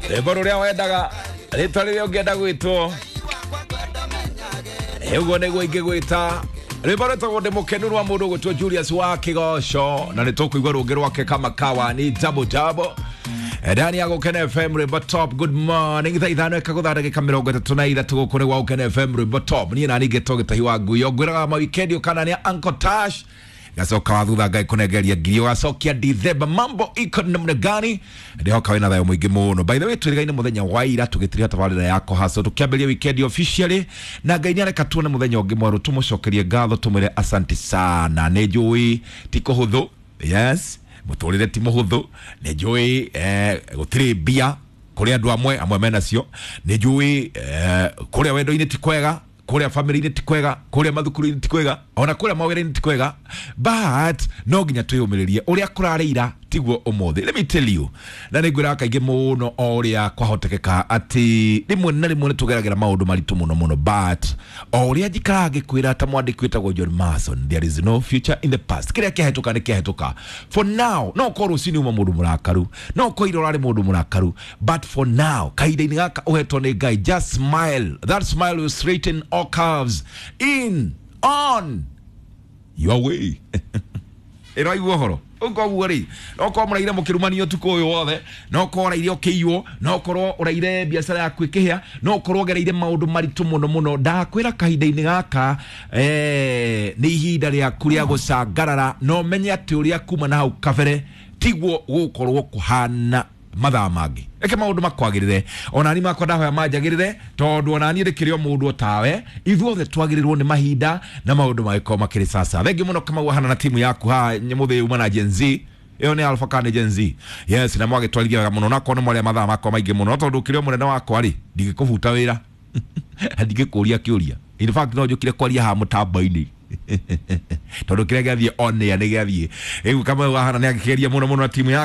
Rwĩmbo rũrĩa wendaga, rĩtwa rĩrĩa ũngĩenda gwĩtwo, ũguo nĩguo ingĩgwĩta. Rwĩmbo rwĩtagwo Ndĩ Mũkenu rwa mũndũ ũgwĩtwo Julius wa Kĩgoco, na nĩ tũkũigua rũngĩ rwake kama kawa ni double double ndani ya Gũkena FM rwĩmbo top. Good morning, thaa 5 ĩkagũtha ndagĩka 33, gũkũ nĩ gwa Gũkena FM rwĩmbo top. Niĩ nani ngĩtwo Gĩtahi wa Nguyo, ngwĩraga mawikendi ũkana nĩ Uncle Tash gacoka wa thutha Ngai kũnengeria ngiri ũgacokia Dithemba, mambo iko namna gani? Ndihoka wĩna thayũ mũingĩ mũno. By the way, twĩrĩgaine mũthenya wa ira tũgĩtiria tabarĩra yako haco, tũkĩambĩrĩria weekend officially, na Ngai nĩareka tuone mũthenya ũngĩ mwerũ. Tũmũcokerie ngatho, tũmwĩre asante sana. Nĩ njũĩ ti kũhũthũ, yes, mũtũrĩre ti mũhũthũ. Nĩ njũĩ gũtirĩ mbia kũrĩ andũ amwe, amwe menacio. Nĩ njũĩ kũrĩa wendo-inĩ ti kwega, kũrĩa family-inĩ ti kwega, kũrĩa mathukuru-inĩ ti kwega, ona kũrĩa mawĩra-inĩ ti kwega, but no nginya twĩyũmĩrĩrie. Ũrĩa kũrarĩ ira tiguo ũmũthĩ, let me tell you. Na nĩ ngwĩraga kaingĩ mũno o ũrĩa kwahotekeka atĩ rĩmwe na rĩmwe nĩ tũgeragĩra maũndũ maritũ mũno mũno, but o ũrĩa njikaraga ngĩkwĩra ta mwandĩki wĩtagwo John Mason, there is no future in the past. Kĩrĩa kĩahĩtũka nĩ kĩahĩtũka. For now, no ũkorwo rũcinĩ uma mũndũ mũrakaru, no ũkorwo ira ũrarĩ mũndũ mũrakaru, but for now, kahinda-inĩ gaka ũhetwo nĩ Ngai, just smile. That smile will straighten all curves in on your way. Ĩraigua ũhoro ũkoguo rĩ, no korwo mũraire mũkĩrumanio ũtukũ ũyũ wothe, no korwo ũraire ũkĩiywo, no korwo ũraire biacara yaku ĩkĩhĩa, no korwo ũgereire maũndũ maritũ mũno mũno, ndakwĩra kahinda-inĩ gaka nĩ ihinda rĩaku rĩa gũcangarara, na ũmenye atĩ ũrĩa kuma na hau kabere tiguo gũgũkorwo kũhana mathaa mangĩ. Reke maũndũ makwagĩrĩre, onani makwa ndahoya manjagĩrĩre, tondũ onani ndĩkĩrĩ o mũndũ otawe. Ithuothe twagĩrĩrwo nĩ mahinda na maũndũ magĩkorwo makĩrĩ sasa. Thengiũ mũno Kamau ahana na timu yaku haha mũthĩ uma na Gen Z. Ĩyo nĩ Alpha kana nĩ Gen Z? Yes, na mwagĩtwarithia wega mũno, nakorwo nĩ mwarĩa mathaa makwa maingĩ mũno, tondũ ũkĩrĩ o mũnene wakwa rĩ, ndingĩkũbuta wĩra, ndingĩkũria kĩũria. In fact, no njũkire kwaria haha mũtambo-inĩ, tondũ kĩrĩa gĩathiĩ on air nĩ gĩathiĩ. Rĩu Kamau ahana nĩ agĩkĩgeria mũno mũno na timu.